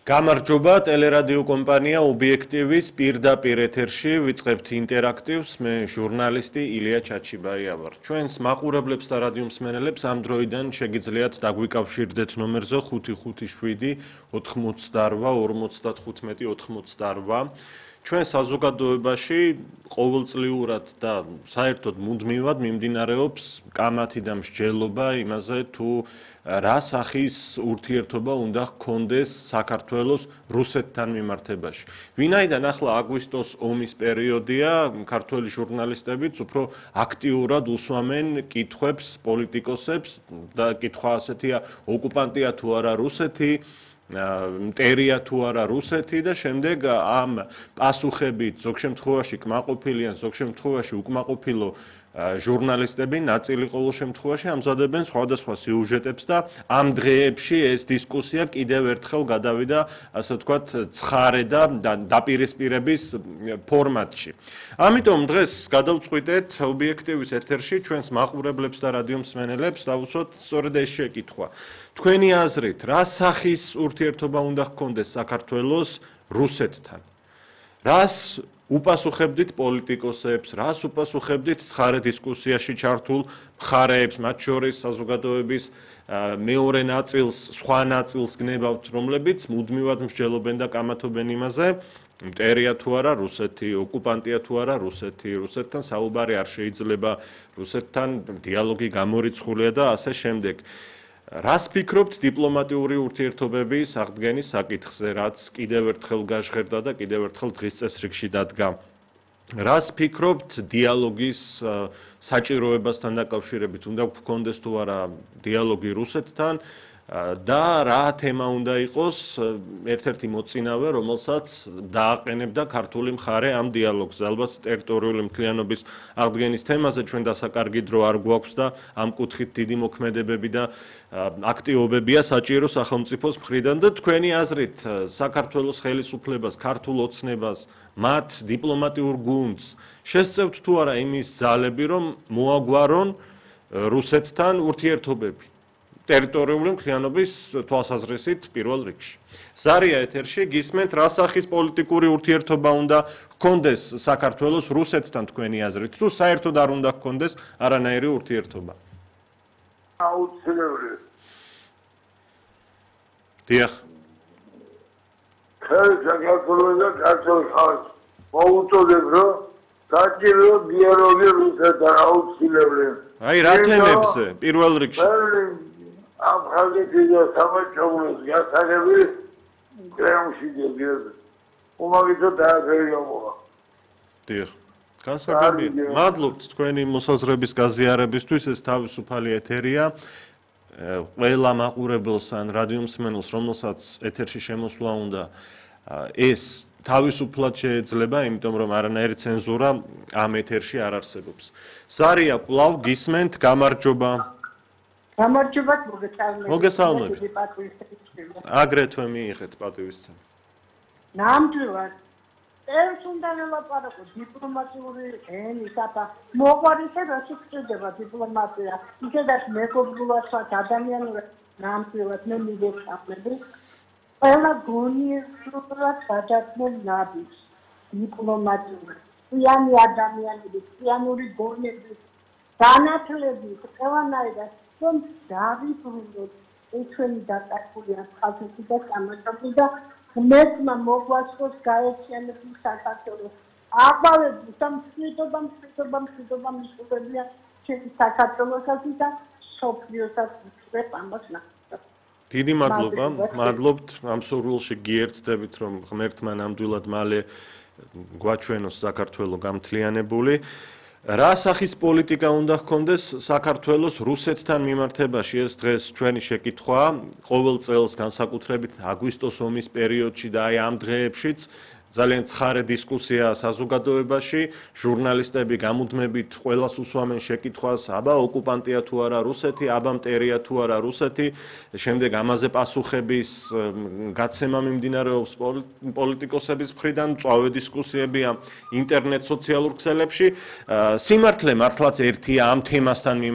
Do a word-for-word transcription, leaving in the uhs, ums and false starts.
გამარჯობა, ტელერადიო კომპანია ობიექტივის პირდაპირ ეთერში ვიწყებთ ინტერაქტივს. მე ჟურნალისტი ილია ჩაჩიბაია ვარ. ჩვენს მაყურებლებს და რადიო მსმენელებს ამ დროიდან შეგიძლიათ დაგვიკავშირდეთ ნომერზე ხუთი ხუთი შვიდი ოთხმოცდაორვა ორმოცდათხუთმეტი ოთხმოცდაორვა. ჩვენ საზოგადოებაში ყოველწლიურად და საერთოდ მუდმივად მიმდინარეობს კამათი და მსჯელობა იმაზე თუ რა სახის ურთიერთობა უნდა ჰქონდეს საქართველოს რუსეთთან მიმართებაში. ვინაიდან ახლა აგვისტოს ომის პერიოდია, ქართველი ჟურნალისტებიც უფრო აქტიურად უსვამენ კითხვებს პოლიტიკოსებს და კითხვა ასეთია, ოკუპანტია თუ არა რუსეთი, მტერია თუ არა რუსეთი და შემდეგ ამ პასუხებით ზოგ შემთხვევაში კმაყოფილი ან ზოგ შემთხვევაში უკმაყოფილო ჟურნალისტები ნაწილი ყოველ შემთხვევაში ამზადებენ სხვადასხვა სიუჟეტებს და ამ დღეებში ეს დისკუსია კიდევ ერთხელ გადავიდა, ასე ვთქვათ, ცხარე და დაპირისპირების ფორმატში. ამიტომ დღეს გადავწყვიტეთ ობიექტივის ეთერში ჩვენს მაყურებლებს და რადიო მსმენელებს დავუსვათ სწორედ ეს შეკითხვა. თქვენი აზრით, რა სახის ურთიერთობა უნდა ჰქონდეს საქართველოს რუსეთთან? რას უპასუხებდით პოლიტიკოსებს, რას უპასუხებდით ცხარე დისკუსიაში ჩართულ მხარეებს, მათ შორის საზოგადოების მეორე ნაწილს, სხვა ნაწილს გნებავთ, რომლებიც მუდმივად მსჯელობენ და კამათობენ იმაზე, მტერია თუ არა რუსეთი, ოკუპანტია თუ არა რუსეთი, რუსეთთან საუბარი არ შეიძლება, რუსეთთან დიალოგი გამორიცხულია და ასე შემდეგ. რას ფიქრობთ დიპლომატიური ურთიერთობების აღდგენის საკითხზე, რაც კიდევ ერთხელ გაჟღერდა და კიდევ ერთხელ დღის წესრიგში დადგა? რას ფიქრობთ დიალოგის საჭიროებასთან დაკავშირებით, უნდა გქონდეს თუ არა დიალოგი რუსეთთან და რა თემა უნდა იყოს ერთ-ერთი მოწინავე, რომელსაც დააყენებდა ქართული მხარე ამ დიალოგზე. ალბათ ტერიტორიული მთლიანობის აღდგენის თემაზე ჩვენ დასაკარგი დრო არ გვაქვს და ამ კუთხით დიდი მოქმედებები და აქტივობებია საჭირო სახელმწიფოს მხრიდან და თქვენი აზრით საქართველოს ხელისუფლებას, ქართულ ოცნებას, მათ დიპლომატიურ გუნდს შესწევთ თუ არა იმის ძალები, რომ მოაგვარონ რუსეთთან ურთიერთობები? ტერიტორიული მთლიანობის თვალსაზრისით პირველ რიგში. ზარია ეთერში გისმენთ, რა სახის პოლიტიკური ურთიერთობა უნდა ჰქონდეს საქართველოს რუსეთთან თქვენი აზრით, თუ საერთოდ არ უნდა ჰქონდეს არანაირი ურთიერთობა? აუცილებელი. დიახ. ხელ საქართველოს და ქართულ ხალხს მოუწოდებ, რომ საჭირო დიალოგი რუსეთთან აუცილებელი. აი რა თემებზე პირველ რიგში? ამ ხალხის და სამართლის გასაგები კრემლში დებიათ. უმაგისო დააგრევა. დიახ. განსაკუთრებით მადლობთ თქვენი მოსაზრების გაზიარებისთვის, ეს თავისუფალი ეთერია. ყველა მაყურებელს ან რადიო მსმენელს, რომელსაც ეთერში შემოსვლა უნდა, ეს თავისუფლად შეეძლება, იმიტომ რომ არანაირი ცენზურა ამ ეთერში არ არსებობს. ზარია, კვლავ გისმენთ, გამარჯობა. გამარჯობა, მოგესალმებით. მოგესალმებით. აგრეთვე მიიღეთ პატივისცემა. ნამდვილად. ეს უნდა ელაპარაკო დიპლომატიური ენის აფა. მოყვარისა რა შეჭდება დიპლომატია. ისედაც მეგობრულად სხვა ადამიანურად ნამდვილად მე მიგესალმები. ყველა გონიერულად გადაწმულ ნაბიჯს დიპლომატიური. წიანი ადამიანები, წიანური გონები, განათლებით, ყველანაირად რომ დავიბრუნოთ ეს ჩვენი დაკარგულია ხალხი და სამართალი და ღმერთმა მოგვასწროს გაერთიანებული საქართველოს. აყვავები სამშვიდობა, მშვიდობა, მშვიდობა მისულებია ჩვენი საქართველოსაც და სოფლიოსაც ვწვევ ამას ნახავთ. დიდი მადლობა, მადლობთ ამ სურვილში გიერთდებით, რომ ღმერთმა ნამდვილად მალე გვაჩვენოს საქართველო გამთლიანებული. რა სახის პოლიტიკა უნდა ჰქონდეს საქართველოს რუსეთთან მიმართებაში? ეს დღეს ჩვენი შეკითხვაა. ყოველ წელს განსაკუთრებით აგვისტოს ომის პერიოდში და აი ამ დღეებშიც ძალიან ცხარე დისკუსია საზოგადოებაში, ჟურნალისტები გამუდმებით ყველას უსვამენ შეკითხვას, აბა ოკუპანტია თუ არა რუსეთი, აბა მტერია თუ არა რუსეთი, შემდეგ ამაზე პასუხების გაცემა მიმდინარეობს პოლიტიკოსების მხრიდან, მწვავე დისკუსიებია ინტერნეტ სოციალურ ქსელებში. სიმართლე მართლაც ერთია ამ თემასთან მიმართებაში.